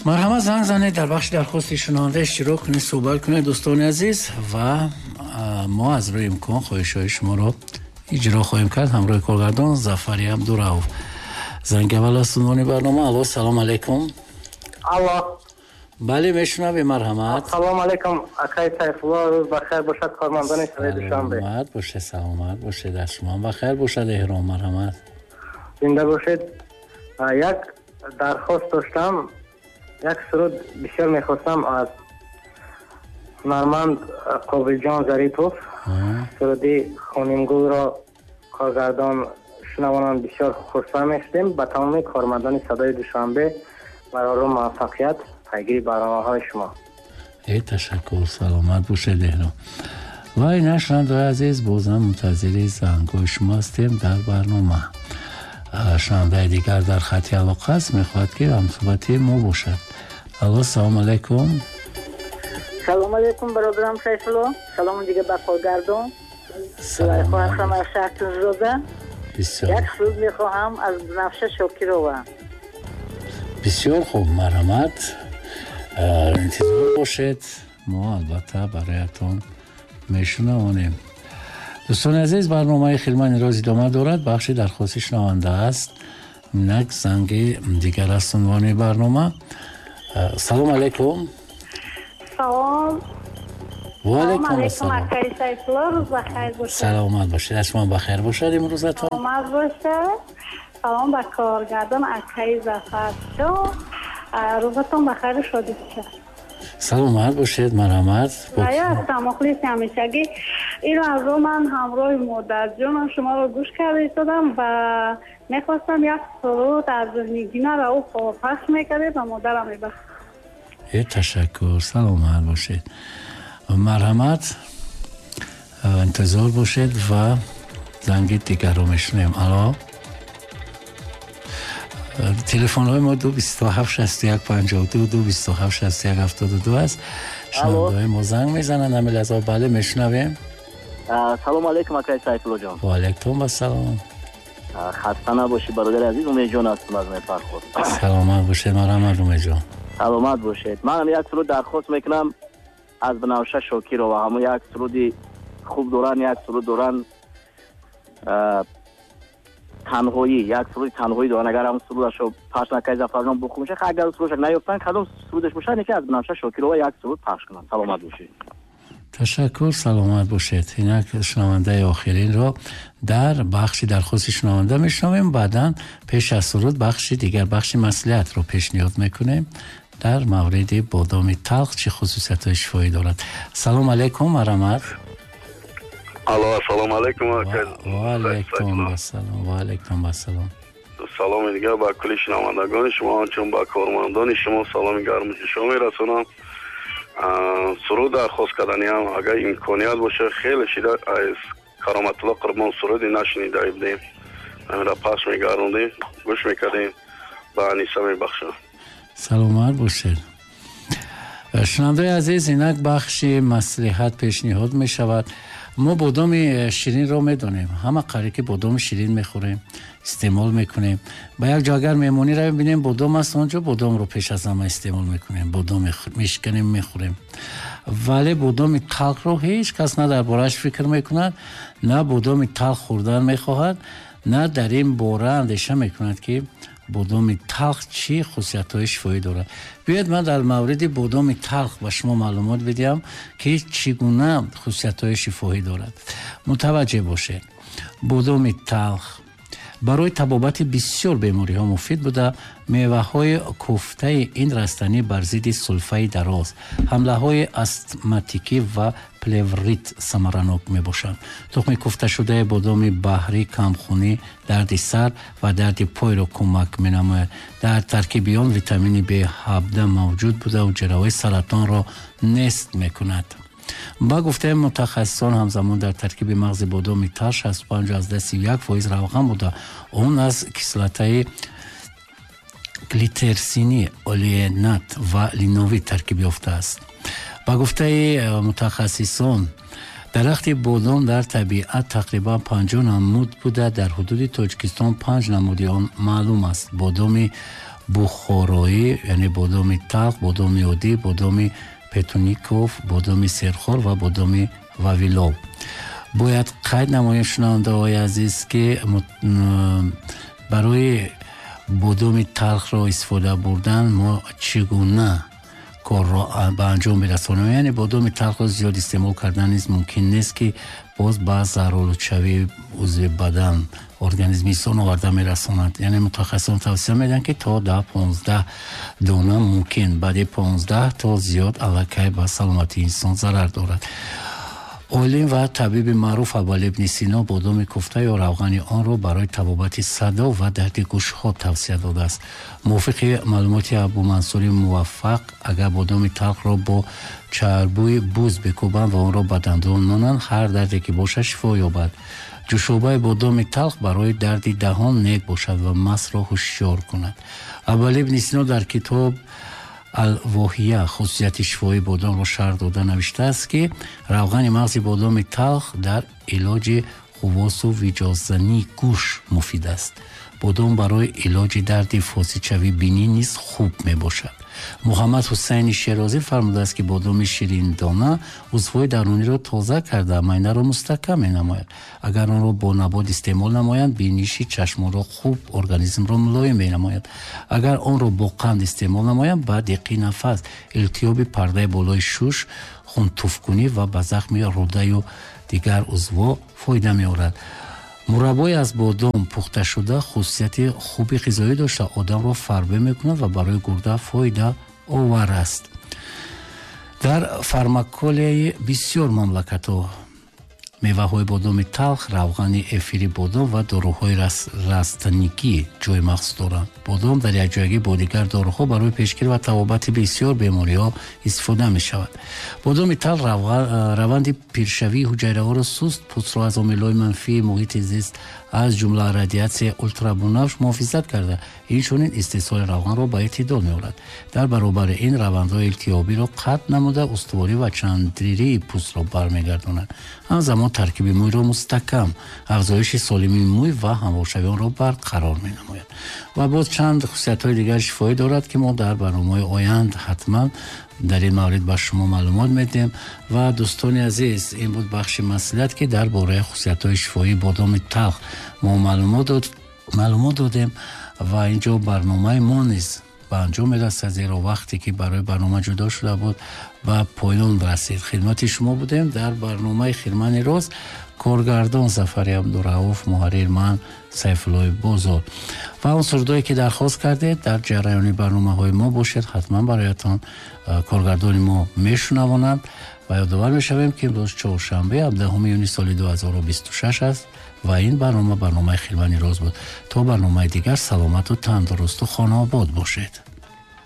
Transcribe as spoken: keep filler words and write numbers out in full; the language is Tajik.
Марҳамат, занг занед, дар бахши дархости шунаванда иштирок кунед, суҳбат кунед, дӯстони азиз, ва мо аз рӯи имкон хоҳишҳои шуморо иҷро хоҳем кард ҳамроҳи коргардон Зафари Абдурауф. Занги аввал аз унвони барнома. Алло, салом алейкум. Алло. Бале, мешунавем, марҳамат. Салом алейкум, акай Сайфулло, рӯз бахайр бошад, кормандони шаҳри Душанбе. Саломат бошед, саломат бошед, аз шумо ҳам бахайр бошад, эҳром, марҳамат. Зинда бошед. Як дархост доштам, як суруд бисёр мехостам аз ҳунарманд Қобилҷон Зарипов, суруди Хонимгулро коргардон шунавонанд, бисёр хурсанд мешудем. Ба тамоми кормандони садои Душанбе барору муваффақият, пайгири барномаҳои шумо. Э, ташаккур, саломат бошед, эҳром. Ва ина, шунавандаҳои азиз, бозам мунтазири зангҳои шумо ҳастем дар барнома. Шунавандаи дигар дар хати алоқа аст, мехоҳад ки ҳамсуҳбати мо бошад. Алло, салому алайкум. Салому алайкум, бародарам Сайфулло. Салому дига ба коргардон. Зулайхо аз шаҳр Тунзода. Як суруд мехоҳам аз Бунафша Шокирова. Бисёр хуб, марҳамат, интизор бошед, мо албатта бароятон мешунавонем. Дӯстони азиз, барномаи Хилмани роз идома дорад. Бахши дархости шунаванда аст. Инак занги дигар аст унвони барнома. Салом алайкум. Салом. Ва алайкум ассалом. Акай Сайфулло, рӯз бахайр бошад. Саломат бошед, аз шумо бахайр бошад имрӯзатон. Саломат бошад. Салом ба коргардон акай Зафарҷон. Рӯзатон бахайру шодӣ бошад. Саломат бошед, марҳамат. Я ҳастам, мухлиси ҳамешагӣ. Инро аз ман ҳамроҳи модарҷонам шуморо гӯш карда истодам ва мехостам як суруд аз Нигина Рауфова пахш мекардед ва модарам мебахшид. Э, ташаккур, саломат бошед. Марҳамат, интизор бошед ва занги дигарро мешунавем. Алло. Телефонҳои мо ду бисту ҳафт шасту як панҷоҳу ду, ду бисту ҳафт шасту як ҳафтоду ду аст. Шунавандаҳои мо занг мезананд ҳамин лаҳза. Бале, мешунавем. Салому алайкум, акай Сайфулло ҷон. Ва алайкум ассалом. Хаста набошӣ, бародари азиз, Умедҷон ҳастам аз Мепархӯр. Саломат бошед, марҳамат, Умедҷон. Саломат бошед. Манам як суруд дархост мекунам аз Бунафша Шокирова. Ҳамон як суруди хуб доранд, як суруд доранд танҳоӣ, як суруди танҳоӣ доранд. Агар ҳамон сурудашро пахш накард Зафарҷон бухӯ мешавад. Агар сурудаш наёфтанд, кадом сурудаш бошад, яке аз Бунафша Шокирова як суруд пахш кунанд. Саломат бошед. Ташаккур, саломат бошед. Инак шунавандаи охиринро дар бахши дархости шунаванда мешунавем. Баъдан пеш аз суруд бахши дигар, бахши маслиҳатро пешниҳод мекунем дар мавриди бодоми талх чӣ хусусиятҳои шифоӣ дорад. Салом алайкум, марҳамат. Алло, ассалому алайкум. Ва алайкум ассалом. Ва алайкум ассалом. Саломи дигар ба кулли шунавандагони шумо, ҳамчун ба кормандони шумо саломи гарму ҷӯшо мерасонам. Суруд дархост карданиам, агар имконият бошад, хеле шида аз Кароматулло Қурбон суруди нашунида будем, ҳаминро пахш мегардондем, гӯш мекардем, ба Аниса мебахшам. Саломат бошед. Шунавандаи азиз, инак бахши маслиҳат пешниҳод мешавад. Мо бодоми ширинро медонем, ҳама қариб ки бодоми ширин мехӯрем, истеъмол мекунем. Ба як ҷо агар меҳмонӣ равем, бинем бодом аст, он ҷо бодомро пеш аз ҳама истеъмол мекунем, бодом мешиканем, мехӯрем. Вале бодоми талхро ҳеҷ кас на дар борааш фикр мекунад, на бодоми талх хӯрдан мехоҳад, на дар ин бора андеша мекунад ки бодоми талх чӣ хусусиятҳои шифоӣ дорад. Биёед ман дар мавриди бодоми талх ба шумо маълумот бидиҳам ки чӣ гуна хусусиятҳои шифоӣ дорад. Мутаваҷҷеҳ бошед. Бодоми талх барои табобати бисёр бемориҳо муфид буда, меваҳои куфтаи ин растанӣ бар зидди сулфаи дароз, ҳамлаҳои астматикӣ ва плеврит самаранок мебошанд. Тухми куфташудаи бодоми баҳрӣ камхунӣ, дарди сар ва дарди пойро кӯмак менамояд. Дар таркиби он витамини Б ҳабдаҳ мавҷуд буда, ҳуҷраҳои саратонро нест мекунад. Ба гуфтаи мутахассисон, ҳамзамон дар таркиби мағзи бодоми талх шасту панҷ аз даҳ як фоиз равған буда, он аз кислотаи глитерсинӣ, олеинат ва линовӣ таркиб ёфтааст. Ба гуфтаи мутахассисон, дарахти бодом дар табиат тақрибан панҷоҳ намуд буда, дар ҳудуди Тоҷикистон панҷ намуди он маълум аст. Бодоми бухороӣ, яъне бодоми талх, бодоми оддӣ, бодоми петуников, бодоми серхор ва бодоми вавилов. Бояд қайд намоем, шунавандаҳои азиз, ки барои бодоми талхро истифода бурдан мо чӣ гуна корро ба анҷом мерасонем. Яъне бодоми талхро зиёд истеъмол кардан низ мумкин нест, ки боз ба заҳролудшавии узви бадан, организми инсон оварда мерасонад. Яъне мутахассисон тавсия медиҳанд, ки то даҳ понздаҳ дона мумкин, баъди понздаҳ то зиёд аллакай ба саломатии инсон зарар дорад. Олим ва табиби маъруф Абуалӣ ибни Сино бодоми куфта ё равғани онро барои табобати садо ва дарди гӯшҳо тавсия додааст. Мувофиқи маълумоти Абумансури Муваффақ, агар бодоми талхро бо чарбӯи буз бикӯбанд ва онро ба дандон монанд, ҳар дарде ки бошад шифо ёбад. Ҷӯшобаи бодоми талх барои дарди даҳон нек бошад ва масро ҳушёр кунад. Абуалӣ ибни Сино дар китоб Ал-Воҳия хусусияти шифоии бодомро шарҳ дода навиштааст, ки равғани мағзи бодоми талх дар илоҷи хувосу виҷоззании гӯш муфид аст. Бодом барои илоҷи дарди фосидшавии бинӣ низ хуб мебошад. Муҳаммад Ҳусайни Шерозӣ фармудааст, ки бодоми шириндона узвҳои даруниро тоза карда, майнаро мустаҳкам менамояд. Агар онро бо набот истеъмол намоянд, биниши чашмонро хуб, организмро мулоим менамояд. Агар онро бо қанд истеъмол намоянд, ба диққи нафас, илтиҳоби пардаи болои шуш, хунтуфкунӣ ва ба захми рӯдаю дигар узвҳо фоида меорад. Мураббои аз бодом пухташуда хусусияти хуби ғизоӣ дошта, одамро фарбе мекунад ва барои гурда фоида овар аст. Дар фармаколияи бисёр мамлакатҳо меваҳои бодоми талх, равғани эфири бодом ва доруҳои растанигӣ ҷои махсус доранд. Бодом дар якҷоягӣ бо дигар доруҳо барои пешгирӣ ва табобати бисёр бемориҳо истифода мешавад. Бодоми талх раванди пиршавии ҳуҷайраҳоро суст, пӯстро аз омилҳои манфии муҳити зист, аз ҷумла радиатсияи ултрабунафш муҳофизат карда, инчунин истеҳсоли равғанро ба эътидол меорад. Дар баробари ин равандҳои илтиҳобиро қатъ намуда, устуворӣ ва чандририи пӯстро бармегардонад. Ҳамзамон таркиби мӯйро мустаҳкам, афзоиши солимии мӯй ва ҳамворшавии онро барқарор менамояд. Ва боз чанд хусусиятҳои дигари шифоӣ дорад, ки мо дар барномаҳои оянд ҳатман дар ин маврид ба шумо маълумот медиҳем. Ва дӯстони азиз, ин буд бахши маслиҳат, ки дар бораи хусусиятҳои шифоии бодоми талх мо маълумот додем. Ва инҷо барномаи мо низ ба анҷом мерасад, зеро вақте ки барои барнома ҷудо шуда буд ба поён расид. Хидмати шумо будем дар барномаи Хирмани роз. Коргардон Зафари Абдурауф, муҳаррир ман Сайфуллои Бозор. Ва он сурудое ки дархост кардед дар ҷараёни барномаҳои мо бошед, ҳатман бароятон коргардони мо мешунавонанд. Ва ёдовар мешавем, ки имрӯз чоршанбе ҳабдаҳуми июни соли ду ҳазору бисту шаш аст ва ин барнома барномаи Хирмани роз буд. То барномаи дигар саломату тандурусту хонаобод бошед.